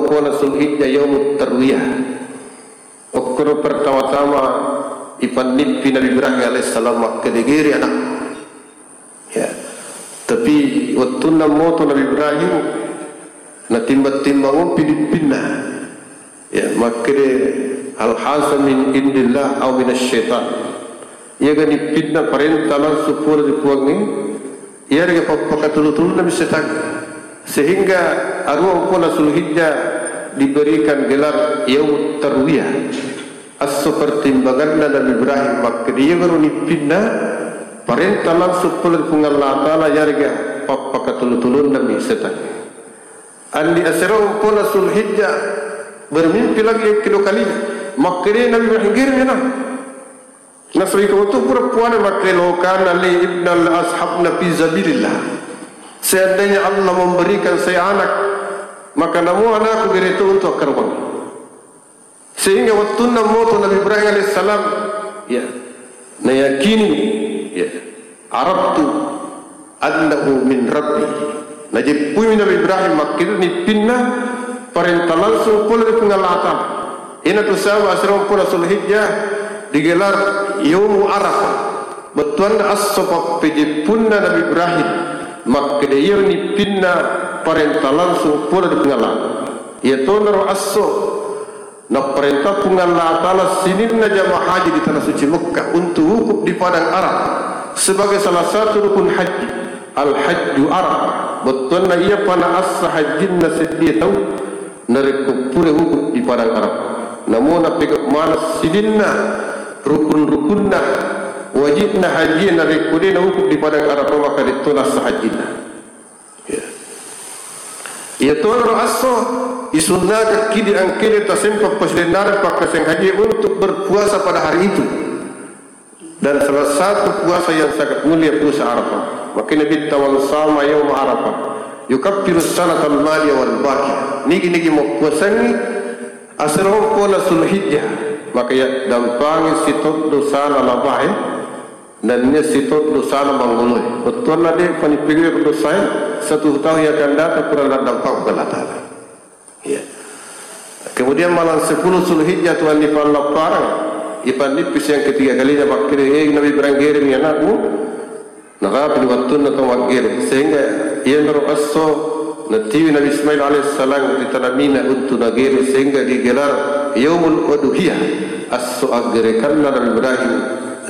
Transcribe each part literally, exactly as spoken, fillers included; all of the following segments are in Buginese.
Pona Zulhijjah yaumut tarwiyah. Okkoro pertama-tama ipannippi Nabi Ibrahim alaihissalam makkeda gere anak. Ya. Tapi wettunna moto Nabi Ibrahim, natimbang-timbang umpi nippinna. Ya, makkeda hal haza min indillah au minasy syaitan. Iyaga nippinna parenta langsung pole ri Puangnge, iyarega pappakatulu-tulunna mi setang. Sehingga aruang pona Zulhijjah diberikan gelar Yaumut Tarwiyah. Esso pertimbanganna Nabi Ibrahim makkeda iyagaro nippinna parenta langsung pole ri Puang Allah Ta'ala, iyarega pappakatulu-tulunna mi setang. Andi asero pona Zulhijjah bermimpi lagi yang kedua kalinya. Makkeda Nabi Ibrahim, gere anak. Nasaba iko tu pura puana makkeda, "Law kana li ibnan la ashabna fi sabilillah." Seandainya Allah memberikan saya anak, maka namu anakku gere to untuk akkarobang. Sehingga wettunna moto Nabi Ibrahim alaihissalam, ya, nayakini, ya, araftu annahu min Rabbi. Najeppui Nabi Ibrahim makkeda nippinna parenta langsung pole ri Puang Allah Ta'ala. Ina tu sabab asero pona Zulhijjah digelar Yaumu Arafah. Bettuanna esso pappejeppunna Nabi Ibrahim makkeda iya nippinna parenta langsung pole ri Puang Allah. Iya tonaro esso Napparentah Puang Allah Ta'ala sininna jamaah haji di Tanah Suci Mekkah untuk wukuf di Padang Arafah sebagai salah satu rukun haji, Al-Hajju Arafah. Bettuanna iyapa naassa hajjinna seddie tau narekko pura wukuf di Padang Arafah. Namo napegau maneng sininna rukun-rukunna, wajibna haji narekko de' nawukuf di Padang Arafah, maka de'to naassa hajjinna. Ya. Iya tonaro esso isunnakekki di angkede tasempa pasilennareng pakkasiwiang haji untuk berpuasa pada hari itu. Dan salah satu puasa yang sangat mulia puasa Arafah. Makanya Nabitta, "Man sama yauma Arafah yukaffiru sanatal madiyah wal baqiyah." Nigi-nigi mappuasangngi asero pona Zulhijjah, maka iya dampangi sito dosana labae. Nennia sito dosana mangoloe. Bettuanna de' panippigau dosae, satu tahun yang akan datang pura naddampang Puang Allah Ta'ala. Iya. Kemudian malam sepuluh Zulhijjah tu andi pallappareng, ipannippi siang ketiga kalinya makkeda, "Eh, Nabi Ibrahim, geremi anakmu." Narapi di wettunna tau maggere, sehingga iyanaro esso natiwi Nabi Ismail alaihissalam ri tana Mina untu nagere, sehingga digelar Yaumul Udhiyah, esso aggerekanna Nabi Ibrahim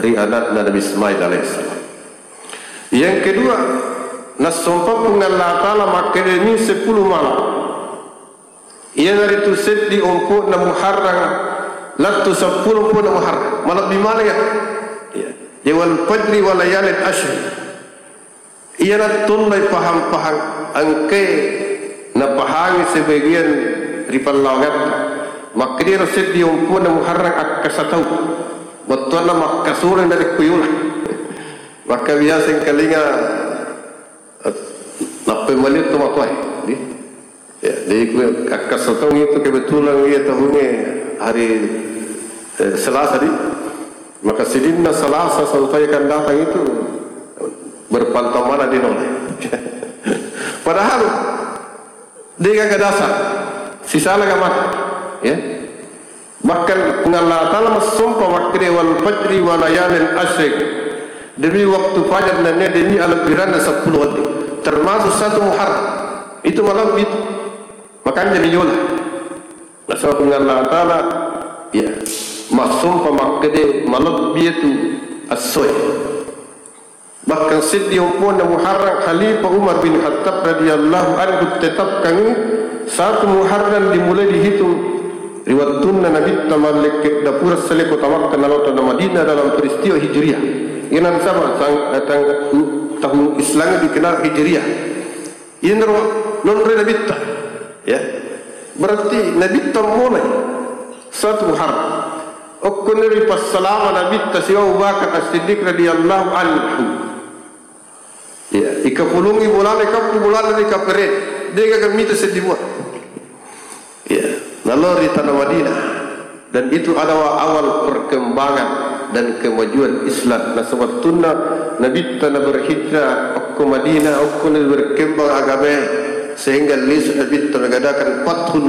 ri anakna Nabi Ismail alaihissalam. Yang kedua, nassompa Puang Allah Ta'ala makkedani sepuluh malam. Iyanaritu seddi ompo'na Muharram, lettu seppulo ompo'na Muharram. Malebbi maneng ya. Ya. Ya, wal fajri wa layalin asyr. Iyana tollai pahang-pahang engkae napahangi sebagian ri pallawangatta. Makkediro seddi ompo'na Muharram akkasa tau. Bettuanna makkasureng dari kuyula. Maka biasa engkalinga, eh, nappai maliu tomatoae, di? Ya, jadi ku akkasa taung itu kebetulan iya tahungnge hari, eh, Selasa, di. Maka sininna Selasa, Selasa yang akan datang itu berpantau mana di nolai. Padahal de' gaga dasar, sisala ga mata, ya. Bahkan Puang Allah Ta'ala massompa makkeda, "Wal fajri wa layalin asyr." Demi waktu fajar nennia demi alebbiranna seppulo wedding. Termasuk satu Muharram. Itu malebbi itu. Makanya miyola. Nasaba Puang Allah Ta'ala, ya, massompa makkeda malebbi itu essoe. Bahkan seddi ompo'na Muharram, Khalifah Umar bin Khattab radhiyallahu anhu tetapkan satu Muharram dimulai dihitung ri wettunna Nabitta mallekke dapura seleko tamakka nalao tana Madinah dalam peristiwa Hijriah. Ina nasaba tang-, tang-, tahun Islam dikenal Hijriah. Inro nonroi Nabitta. Ya. Berarti Nabitta mulai satu Muharram. Okkoniri passalama Nabitta sibawa Abu Bakar As-Siddiq radhiyallahu anhu. Ya, ikapulungi bolana, ikappu bolana ri kapere. De' gaga mita seddi mua. Ya, lalu ri tanah Madinah. Dan itu adalah awal perkembangan dan kemajuan Islam. Nah, sewaktunna Nabitta na berhijrah, okko Madinah, okko na berkembang agama, sehingga lisu Nabitta mengadakan Fathul